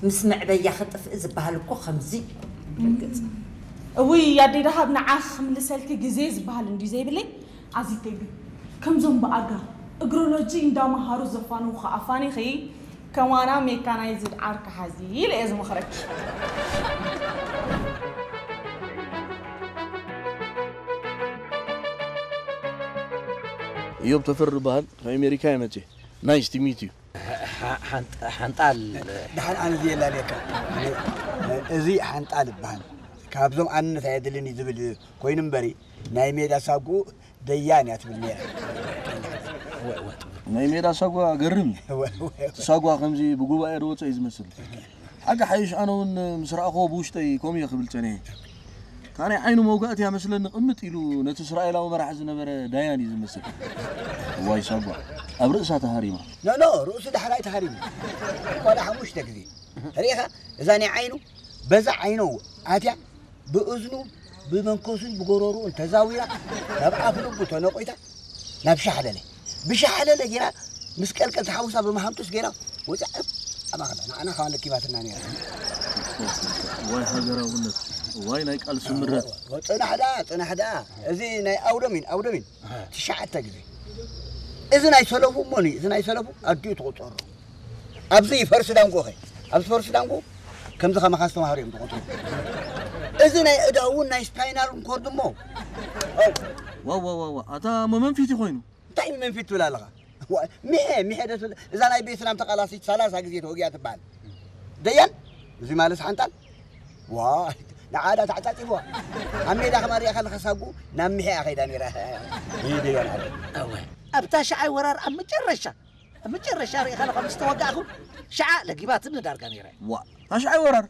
ምስ መዕበያ ክጥፍእ ዝበሃል እኮ ከምዚ እዩ። ርግጽ። እውይ ኣደይ ደሃብ፣ ንዓኺ ክምልሰልኪ ግዜ ዝበሃል እንድዩ ዘይብለይ። ኣዚተይ ግን ከምዞም ብኣጋ እግሮሎጂ እንዳመሃሩ ዘፋንዉኺ ኣፋኒኺ ከማና ሜካናይዝድ ዓርኪ ሓዚ ኢለ እየ ዝመኽረኪ። እዮብ ተፈሪ ይበሃል። ካብ ኣሜሪካ እየ መፅየ። ናይስ ቱ ሚት ዩ። ሓንጣል ድሓን ኣነ ዝየላልየካ። እዚ ሓንጣል ይበሃል። ካብዞም ኣንነት ኣየድልን እዩ ዝብል ኮይኑ እምበሪ ናይ ሜዳ ሳጉ ደያን እያ ትብል ነይራ። ናይ ሜዳ ሳጓ ገርም እዩ። እቲ ሳጓ ከምዚ ብጉባኤ ዝወፀ እዩ ዝመስል። ሓቂ ሓይሽ ኣነ እውን ምስ ረኣኽዎ ብውሽጠይ ከምኡ እየ ክብል ጸኒሐ። እታ ናይ ዓይኑ መውጋእቲ እያ መስለኒ ቅምጥ ኢሉ ነቲ እስራኤላዊ መራሒ ዝነበረ ዳያን እዩ ዝመስል። እዋይ ሳጓ ኣብ ርእሳ ተሃሪማ። ኖ ኖ ርእሱ ዳሕራይ ተሃሪሙ። ቆልዓ ሓሙሽተ ግዜ ርኢኻ እዛ ናይ ዓይኑ በዛ ዓይኑ ኣትያ ብእዝኑ ብመንኮሱን ብጎሮርኡን ተዛዊራ ናብ ኣፍ ልቡ ተነቂታ ናብ ሻሕለለ ብሻሕለለ ጌራ ምስ ቀልቀል ተሓውሳ ብመሃምቱስ ጌራ ወፅያ ኣባኽላ ንዓና ካባን ለኪባትና ነይራ። ዋይ ሃገራውነት፣ ዋይ ናይ ቃልሲ ምረት። ፅናሕ ደኣ ፅናሕ ደኣ እዚ ናይ ኣውደሚን ኣውደሚን ትሽዓተ ግዜ እዚ ናይ ሰለፉ እሞኒ እዚ ናይ ሰለፉ ኣዲኡ ትቁፀሮ ኣብዚ ፈርሲ ዳንጎኸ ኣብዚ ፈርሲ ዳንጎ ከምዚ ከማኻ ዝተማሃሩ እዮም ዝቆፅሩ እዚ ናይ እዳ እውን ናይ ስፓይናል ኮርድ እሞ ዋዋዋዋ ኣታ መመንፊት ኮይኑ እንታይ መንፊት ትብል ኣለኻ ሚሐ ሚሐ ደስ እዛ ናይ ቤትናም ተቃላሲት ሰላሳ ግዜ ተወጊያ ትበሃል ደያን እዚ ማለት ሓንጣል ዋ ንዓዳ ተዓጻጺፍዋ ኣብ ሜዳ ከማሪኣ ከለካ ሳጉ ናብ ሚሐ እያ ከይዳ ነይራ ደያን ኣለ ኣብታ ሸዓይ ወራር ኣብ መጨረሻ ኣብ መጨረሻ ርኢኻ ኣለኻ ምስ ተወጋእኹ ሸዓ ለጊባትኒ ዳርጋ ነይረ ዋ ታሽዓይ ወራር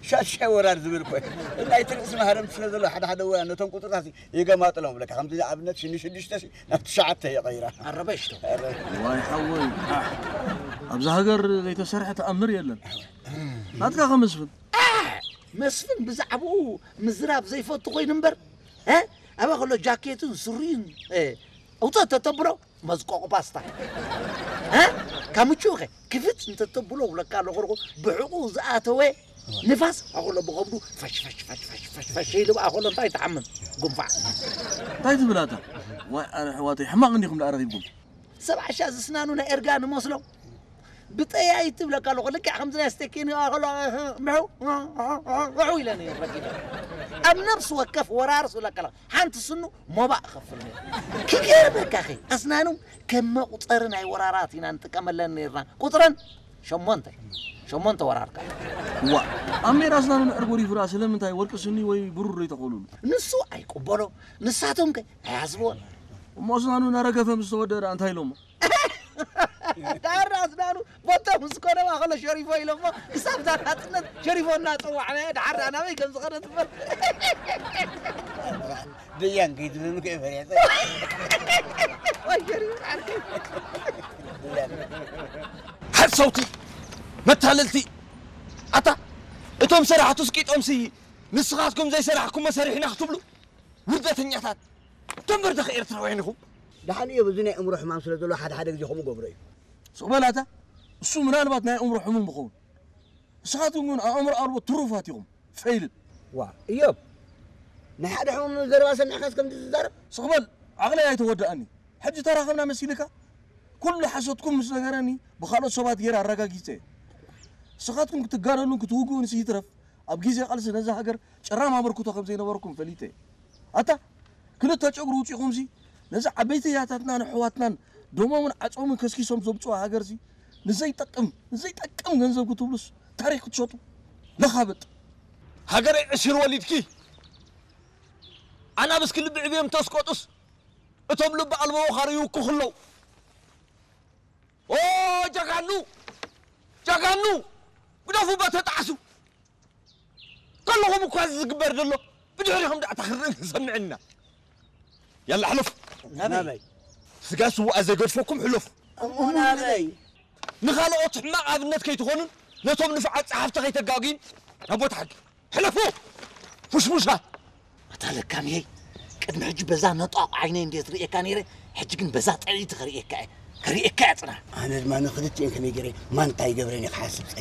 ሻሻይ ወራር ዝብል ኮይ ናይ ትርእሲ ማህረምቲ ስለ ዘሎ ሓደ ሓደ ወራር ነቶም ቁፅርታት የገማጥሎም ብለካ ከምዚ ንኣብነት ሽኒ ሽዱሽተ ናብ ትሽዓተ የቐይራ ኣረበሽቶ ዋይ ሓወይ ኣብዚ ሃገር ዘይተሰርሐ ተኣምር የለን ናትካ ከመስፍን መስፍን ብዛዕባኡ ምዝራብ ዘይፈቱ ኮይኑ እምበር ኣበ ከሎ ጃኬቱን ሱሪን ኣውፅእ ተተብሎ መዝቆቕ ፓስታ ካብ ምቹ ከ ክፍት እንተተብሎ ውለካ ኣለኹ ብሕቑ ዝኣተወ ንፋስ ኣኸሎ ብኸብዱ ፈሽፈሽፈሽፈሽፈሽ ኢሉ ብኣኸሎ እንታይ ትሓምም ጉንፋዕ እንታይ ትብላታ ዋይ ኣነ ኣሕዋተይ ሕማቕ እንዲኹም ደኣ ረኺብኩም ሰብዓ ሻ ዝስናኑ ናይ ኤርጋ ንመስሎ ብጠያይ ትብለካ ኣለኹ ልክዕ ከምዚ ናይ ስቴኪን ከሎ ምሑ ውዑ ኢለ ነይሩ ረኪበ ኣብ ነብሲ ወከፍ ወራርስ ብለካ ኣለኹ ሓንቲ ስኑ ሞባእ እኸፍል ነይሩ ክገርመካ ኸ ኣስናኑ ከም መቁፀሪ ናይ ወራራት ኢና ንጥቀመለን ነይርና ቁፅረን ሸሞንተ ሸሞንተ ወራርካ ዋ ኣብ ሜዳ ኣስናኑ ንዕር ጎሪፉ ደኣ ስለምንታይ ወርቂ ስኒ ወይ ብሩር ዘይተኸሉሉ ንሱ ኣይቅበሎ ንሳቶም ከ ኣይሓስብዎን እሞ ኣስናኑ እናረገፈ ምስ ተወደአ ደኣ እንታይ ኢሎሞ ዳር ኣስናኑ ቦቶም ምስ ኮነባ ከሎ ሸሪፎ ኢሎሞ ክሳብ እዛ ናፅነት ሸሪፎ እናፀዋዕናዮ ድሓር ደኣ ናበይ ከም ዝኸደ ትፈልጥ ደያን ከይትብልሉ ከይፈርሐ ወይ ሸሪፎ ዓርከይ ሓሰውቲ መታለልቲ ኣታ እቶም ሰራሕቱስ ቂጦምሲ ንስኻትኩም ዘይሰራሕኩሞ ሰሪሕና ክትብሉ ውርደተኛታት ደንበርደኸ ኤርትራውያን ኢኹም ደሓን እዮብ እዚ ናይ እምሮ ሕማም ስለ ዘሎ ሓደ ሓደ ግዜ ከምኡ ገብሮ እዩ ስቕ በል ኣታ እሱ ምናልባት ናይ ኣእምሮ ሕሙም ይኸውን ንስኻትኩም ግን ኣእምሮ ኣልቦ ትሩፋት ኢኹም ፈይልል ዋ እዮብ ናይ ሓደ ሕሙም ዘረባ ሰሚዕካስ ከምዚ ትዛረብ ስቕ በል ዓቕለይ ኣይተወድኣኒ ሕጂ ተራኸብና መሲልካ ኩሉ ሓሶትኩም ምስ ነገረኒ ብኻልኦት ሰባት ገይረ ኣረጋጊፀ እየ ንስኻትኩም ክትጋደሉን ክትውግኡንስ ይትረፍ ኣብ ግዜ ቃልሲ ነዛ ሃገር ጭራም ኣበርክቶ ከም ዘይነበረኩም ፈሊጠ እየ ኣታ ክልተ ጨጉሪ ውፂኹምሲ ነዚ ዓበይቲ ያታትናን ኣሕዋትናን ደሞምን ዓፆምን ከስኪሶም ዘምፅዋ ሃገርሲ ንዘይጠቅም ንዘይጠቅም ገንዘብ ክትብሉስ ታሪክ ክትሸጡ ለኻብጥ ሃገረይ ዕሲር ወሊድኪ ኣናብስ ክልቢ ዕብዮም ተስቆጡስ እቶም ልቢ ኣልቦ ወኻሪ ይውክኹ ኣለዉ ኦ ጀጋኑ ጀጋኑ ግደፉ በተጣዕሱ ከለኹም እኳ እዚ ዝግበር ዘሎ ብድሕሪኹም ዳዕታ ክንርኢ ክንሰምዕ ኢና ያላ ሕለፉ ናበይ ስጋ ስውኣ ዘይገድፈኩም ሕለፉ እሞ ናበይ ንኻልኦት ሕማቕ ኣብነት ከይትኾኑን ነቶም ንፉዓት ጸሓፍቲ ከይተጋግዩን ናብ ቦታ ሕጊ ሕለፉ ፉሽፉሻት ኣታ ለካምየይ ቅድሚ ሕጂ በዛ ነጣቕ ዓይነይ እንዴት ርእየካ ነይረ ሕጂ ግን በዛ ጥዕይቲ ከርእየካ እየ ከርእየካ እያ ጽና ኣነ ድማ ንክልቲኤን ከመይ ገይረ ማንታ ይገብረን እየ ክሓስብ ጸኒ